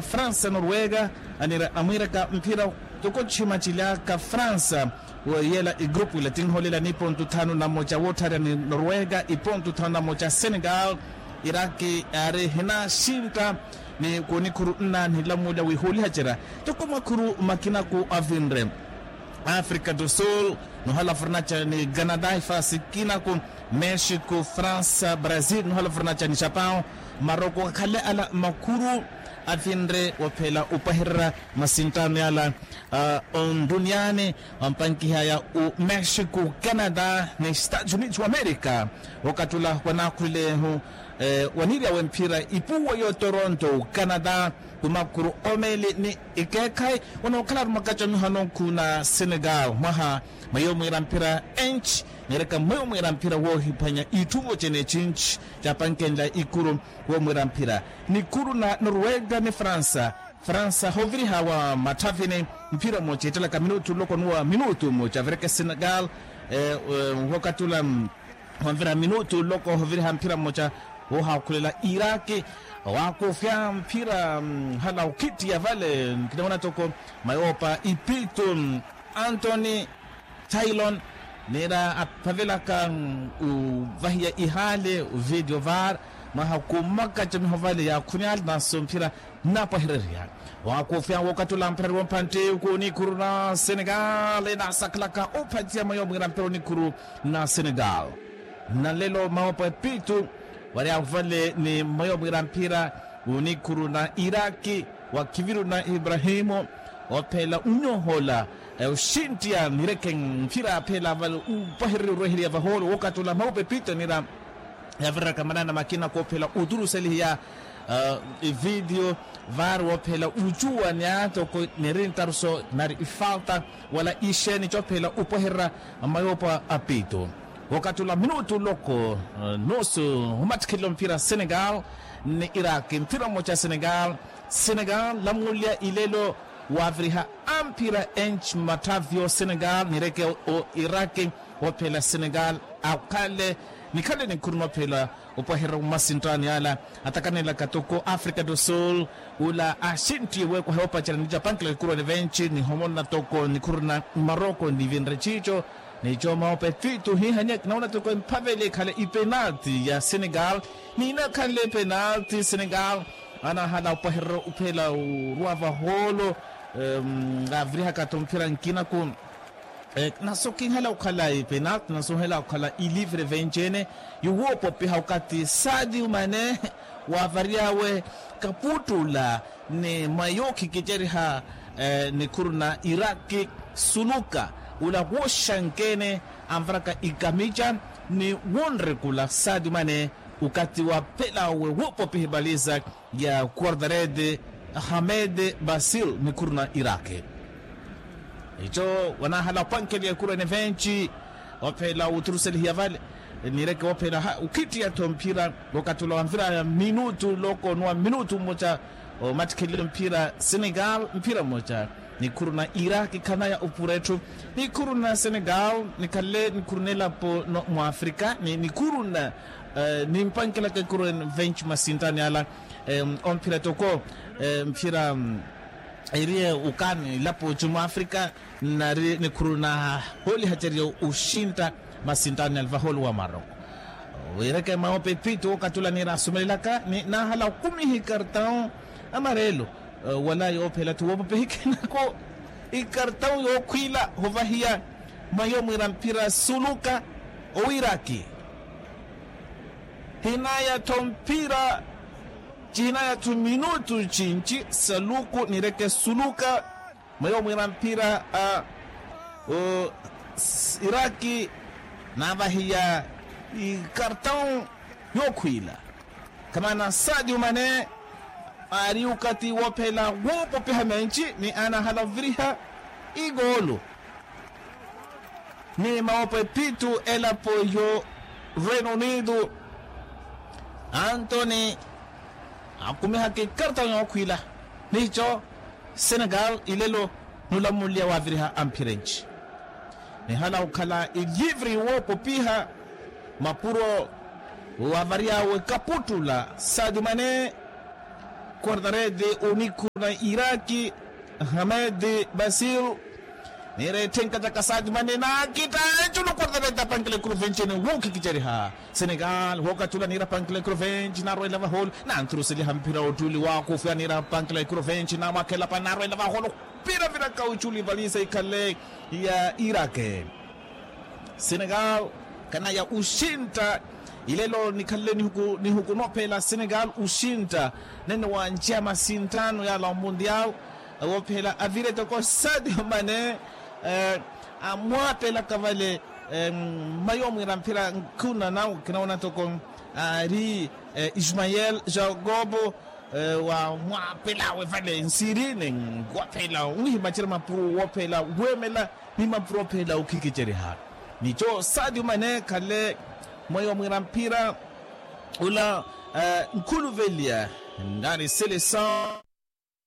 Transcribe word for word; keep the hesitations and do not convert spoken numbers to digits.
Fransa norwega, anira amwiraka mphira. Toko chimachilyaka fransa, weyela igrupu ila tinholela ni pontu thanu na mocha woottharya ni norwega ipontu thanu na mocha senegal. Iraki ari hinaxintta ni kunikhuru nna nilamulya wihulihacerya. Toko makhuru makinaku avinre africa do sul, nuhala furnacha ni canada ifasi kinaku, mexico fransa brazil nuhala furnacha ni japão, maroko akhale ala makhuru avinre waphela upahererya masinttano yala. Onduniani wampankiha ya u mexico canada ni stados unidos wa america, wakattula wanakhulilehu wanirya wemphira ipuwa yo toronto canada, kumakhuru omeli ni ikeekhayi wanookhala ari mwakacha mihano nkhu na senegal mwaha mweyo mwiira mphira enci, nireka mweyo mwiira mphira woohiphwanya itthu vocene cinci capankenla ikuru. Womwiira mphira nikhuru na norwega ni fransa. Fransa hoviriha wa matthavini mphira mmoja ittalaka minutu nloko nuwa minutu mmoja avireke senegal. Wokatula wamvira minutu nloko hoviriha mphira mmoja wohakhulela iraki. Wakufya mphira hala ukittiya vale nkinawana toko mayoopa ipitu antoni tailon nira aphavelaka uvahiya ihale uvideo var mwaha kumaka camiho vale yakhuni ale naso mphira nnapwahererya. Wakufya wokatula mphira ari wompantti kunikhuru na senegal enasakhalaka uphatiya mayo mwira mphira onikhuru na senegal. Nalelo mawopa epitu wari avale ni mmayo mwira mphira onikhuru na iraki wa khiviru na ibrahimu ophela unyohola oxinttiya nireke mphira aphela avale upwahererya orweherya vaholo wokatula mawopa epitu nira yavireraka manana makina koophela oturuselihiya. Evidiyo vaari woophela ucuwa ni atoko niri ntaruso nari ifalta wala ixeeni coophela upwehererya mayoopa a piito. Wokatula minutu loko nusu omattikhelelo mphira senegal ni iraki mphira mmoja senegal. Senegal lamulya ilelo waaviriha amphira enci mmatthavyo senegal nireke o iraki. Woophela senegal akhale nikhale nikhuru noophela opwahererya mmasinttaani ala atakanelaka toko africa do sul ula axinttiye weekwaha yoopacerya nicapankela kikuruwene venci nihomonna toko nikhuru na maroko nivinre ciico. Nico mawopa epitu hiihanya kinawona toko emphaveli ekhala ipenalti ya senegal. Niinakhanle epenalti senegal anahala opwahererya ophela oruwa vahoolo. Avirihaka tho mphira nkinaku naso kinhela okhala ipenalti naso nhela okhala ilivre venci-ene. Yuwoopopiha okathi sadiu mane wavaryawe kaputtula ni mwa yookhikiceriha nikhuru na iraki suluka ula wooxanke-ene anvaraka ikamica ni wonrekula sadiu mane okathi waphela we woopopiha ipaliza ya quardarede hamed basil nikhuru na iraki. Ico wanahala opankheliya ekuru ene venci ophela wuturuselihiya vale nireke wophela ukhittiya-tho mphira wokatula wamviraya minutu loko nuwa minutu mmoja omattikhelelo mphira senegal mphira mmoja nikhuru na iraki khanaya opura etthu. Nikhuru na senegal nikhanle nikhuru n'elapo mwa afrika nikhuru na nimpankelaka ekuru ene venci masinttaani ala omphira toko mphira iriye okaani elapo ci mwa afrika nari nikhuru na hoolihacerya oxintta masinttaani alvaholo wa maroko. Wiireke mawopa epitu wokatula niira asumelelaka ni naahala okumiha ikartau amarelo wala yoophela-tho woopopiha ikinako ikartau yookhwiila hovahiya mwayo mwiira mphira suluka owiraki hinaya-tho mphira cihinaya-tho minutu cinci saluku nireke suluka mweyo mwiira mphira a iraki naavahiya ikartau yookhwiila khamana sadiu mane aari okathi woophela woopopiha menci ni anahala oviriha igoolo ni mawopo epitu elapo yo reino unido antoni akumihaka ikartau yookhwiila nico senegal ilelo nulamulya waaviriha amphira enci nihala okhala ilivre woopopiha mapuro waavary'awe kaputtula sadiu mane Quartarete onikhuna iraki. Hamed basir niira etthenka ca kasati mane naakita eculu quartarete apankela ekuru venci ene wookhikiceriha. Senegal wookatula niira apankela ekuru venci naarweela vaholo nanthuruseliha mphira ottuli waakufya niira apankela ekuru venci naamwakhela pani naarweela vaholo. Vira vira kauculi valisa ikhale ya irake. Senegal kanaya oxintta. Ilelo nikhalele nihuku nihuku noophela senegal oxintta. Nene wanceya masinttano yala omundial woophela avire toko sadio mane amwaapelaka vale. Mmayi omwiira mphira nkhuna nawe kinawona toko aari ismael jacobo wamwaapelawe vale nsirine. Woophela onihimacela mapuro woophela weemela ni mapuro ophela okhikiceriha. Nico sadio mane khale mwayi wa mwiira mphira ula nkhuluveliya nari seleção.